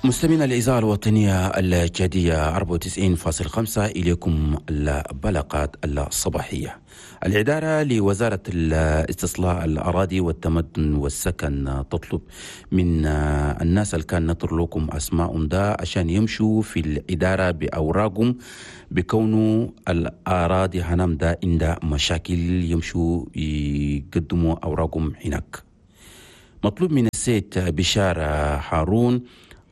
مستمعينا الإذاعة الوطنية التشادية 94.5، إليكم البلاغات الصباحية. الإدارة لوزارة الاستصلاح الأراضي والتمدن والسكن تطلب من الناس اللي كان نطر لكم أسماءهم ده عشان يمشوا في الإدارة بأوراقهم، بكونه الأراضي هنام ده عندها مشاكل، يمشوا يقدموا أوراقهم هناك. مطلوب من السيد بشارة هارون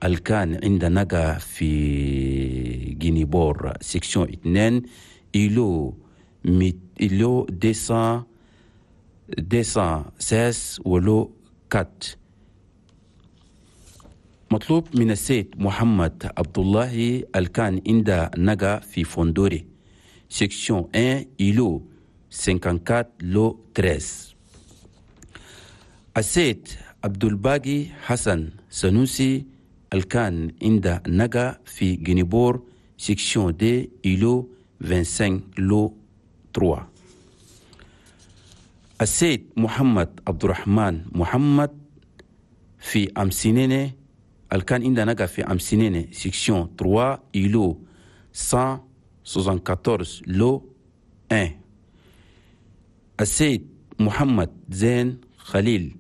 الكان عند نقا في Guinée-Bord section 2 îlot îlot 200 216 و lot 4. مطلوب من السيد محمد عبد الله الكان عند نقا في Fondoré section 1 îlot 54 lot 13. السيد عبد الباقي حسن سنوسي الكان عند نقا في Guinée-Bord section deux îlot 25 lot 3. السيد محمد عبد الرحمن محمد في أمسينيني الكان عند نقا في أمسينيني section 3 îlot 174 lot 1. السيد محمد زين خليل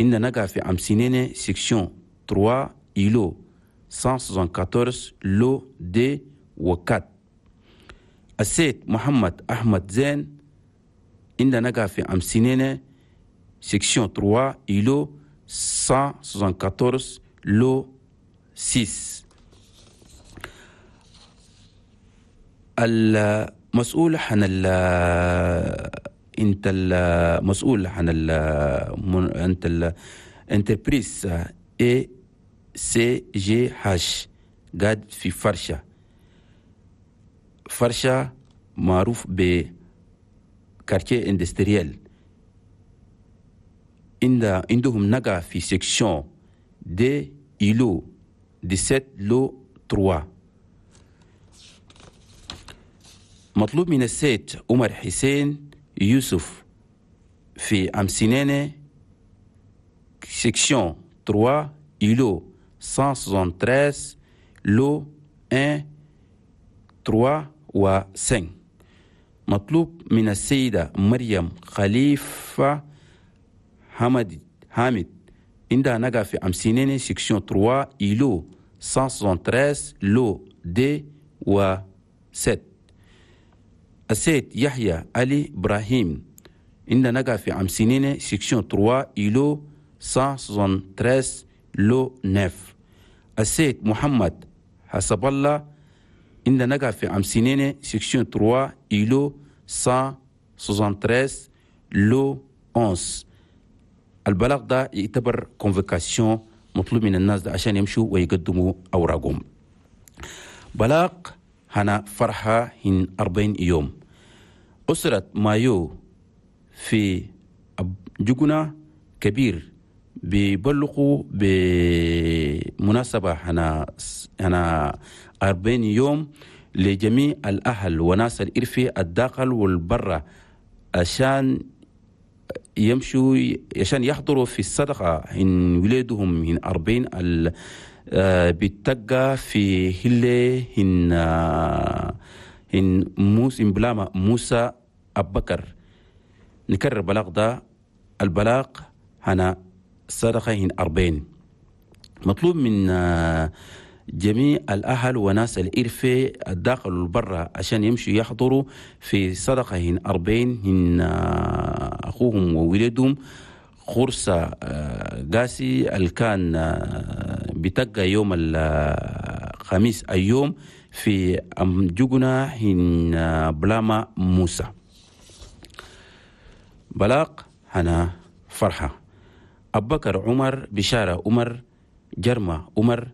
عند نقا في أمسينيني section 3 îlot 174 lot 2 و 4. السيد محمد أحمد زين عند نقا في أمسينيني section 3 îlot 174 lot 6. المسؤول عن انت المسؤول عن انت ال entreprise ACGH قاعد في فرشة، فرشة معروف ب quartier industriel، عندهم نقا في section deux îlot 17 lot 3. مطلوب من السيد عمر حسين يوسف في أمسينيني section 3 îlot 173 lot 1 3 و 5. مطلوب من السيدة مريم خليفة حامد عندها نقا في أمسينيني section 3 îlot 173 lot 2 و 7. السيد يحيى علي إبراهيم عندها نقا في أمسينيني section 3 îlot 173 lot 9. السيد محمد حسب الله عندها نقا في أمسينيني section 3 îlot 173 lot 11. البلاغ ده يعتبر convocation، مطلوب من الناس ده عشان يمشوا ويقدموا أوراقهم. بلاغ هنا فرحة هن 40 يوم. أسرة مايو في جوجنا كبير بيبلغوا بمناسبة هنا 40 يوم لجميع الأهل وناس الإرفي الداخل والبرة عشان يمشوا عشان يحضروا في الصدقة إن ولادهم من 40 بتقى في هلة إن موسى بلاما موسى أبكر. نكرر بلاغ ده، البلاغ هنا صدقة هن 40. مطلوب من جميع الأهل وناس الإرفة الداخل والبرة عشان يمشوا يحضروا في صدقة هن 40 هن أخوهم وولدهم خرسة قاسي اللي كان بتقى يوم الخميس اليوم في أمجوجنا هن بلاما موسى. بلاغ هنا فرحة أبكر عمر بشارة عمر جرمة عمر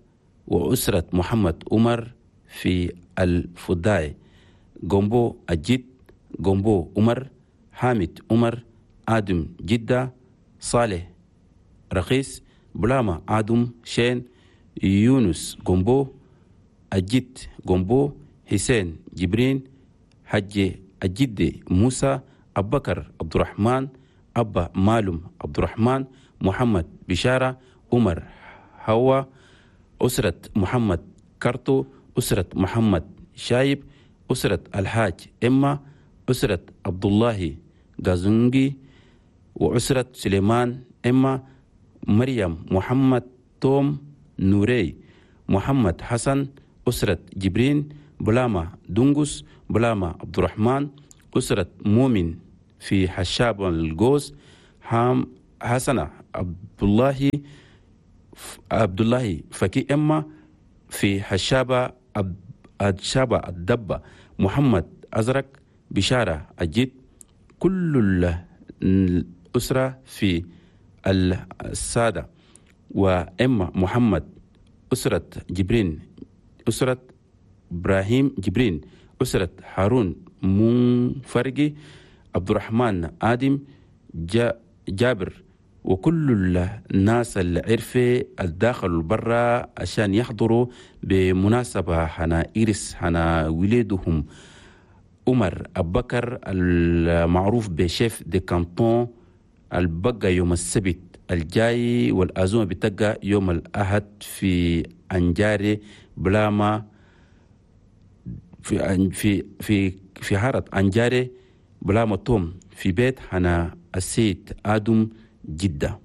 وأسرة محمد عمر في الفداي جومبو الجد جومبو عمر حامد عمر آدم جدة صالح رخيص بلاما آدم شين يونس جومبو الجد جومبو حسين جبرين حج الجد موسى أبكر عبد الرحمن أبا مالم عبد الرحمن محمد بشارة عمر هوا أسرة محمد كارتو، أسرة محمد شايب، أسرة الحاج إما، أسرة عبد الله غازونجي، وأسرة سليمان إما، مريم محمد توم نوري، محمد حسن، أسرة جبرين بلاما دونغوس، بلاما عبد الرحمن، أسرة مؤمن في حشاب الجوز، حام حسنة عبد الله فكي إما في حشابة الشابة الدبة، محمد أزرق، بشارة أجيد، كل الأسرة في السادة، وإما محمد، أسرة جبرين، أسرة إبراهيم جبرين، أسرة هارون منفرقي، عبد الرحمن آدم جابر، وكل الناس العرفة الداخل والبرا عشان يحضروا بمناسبة حنا إيرس حنا ولادهم عمر أبكر المعروف ب chef de canton، البقى يوم السبت الجاي، والعزومة بتبقى يوم الأحد في أنجاري بلاما في في في في حارة أنجاري بلاما توم في بيت حنا السيد آدم جدة.